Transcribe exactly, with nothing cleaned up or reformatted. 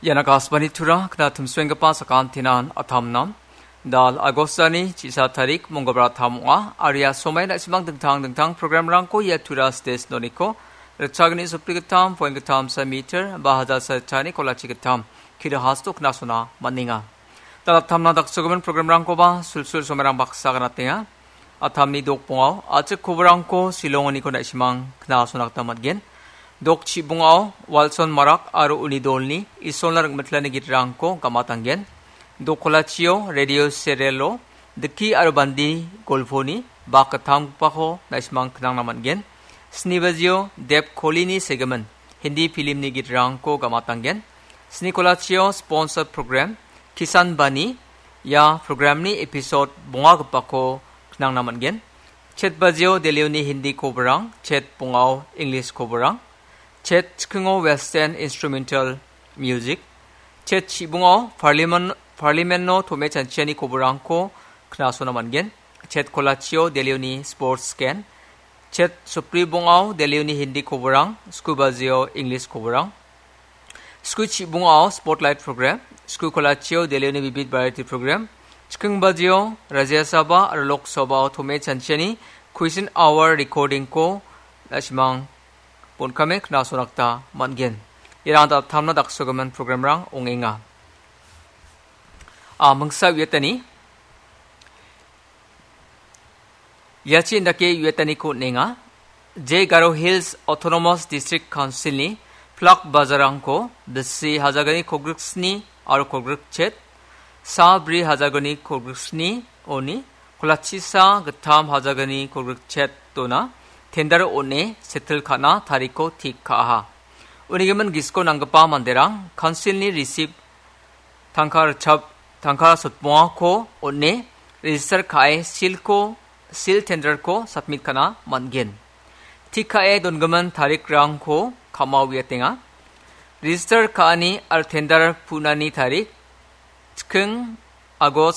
Iana kasbani tura kna timsuenggipa sakantinan atamnam. Dal Agostani chisa tarik mongolbar tam ong·a. Aria somai na·simang dingtang dingtang programrangko ia tura stage noniko ritchagni sopri gittam, point gittam sa meter, ba hajar sa ritchani kolachi gittam, kilo hasto knasona man·enga. Dal atamna daksogimin programrangkoba sulsul somerang baksa ganatenga. Atamni dokbongao achik koborangko silongoniko na·simang knasona gita man·gen. Dok chibongao Walson Marak aro uni dolni Isolna ringmitlani gitrangko gamatanggen. Dok kolachio radio serialo Diki aro Bandi golponi bak gittamgipako na·simang knangna man·gen. Sni bajio Deb Kolini segimin Hindi filmni gitrangko gamatanggen. Sni kolachio sponsor program Kisan Bani, ia programni episode bongagipako knangna man·gen. Chet bajio Delhioni Hindi koborang, chet bongao English koborang, chet chikingo Western instrumental music, chet chibongao Parliament, Parliament-o tom·e chanchiani koborangko knasona man·gen. Chet kolachio Delhioni sports scan, chet sopri bongao Delhioni Hindi koborang, sku bajio English koborang, sku chibongao spotlight program, sku kolachio Delhioni Bibit Bharati program, chiking bajio Rajya Sabha aro Lok Sabhao tom·e chanchiani question hour recordingko na·simang bon·kame knasona gita man·gen. Iarang da-, tamna daksogimin programrang ong·enga. A, mingsa uiatani. Iachi indake uiataniko on·enga. Je Garo Hills Autonomous District Council-ni plak bajarangko bisi hajagni kolgriksni aro kolgrikchet, sa bri hajagni kolgriksni oni kolachisa gittam hajagni kolgrikchet dona tender on·e settle ka·na tariko tik ka·aha. Unigimin gisiko nanggipa manderang council-ni receipt tangka ritchap, tangka sotbongako on·e register ka·e silko, sil tenderko submit ka·na man·gen. Tik ka·e dongimin tarikrangko ka·mao uiatenga. Register ka·ani aro tender pu·nani tarik, chiking August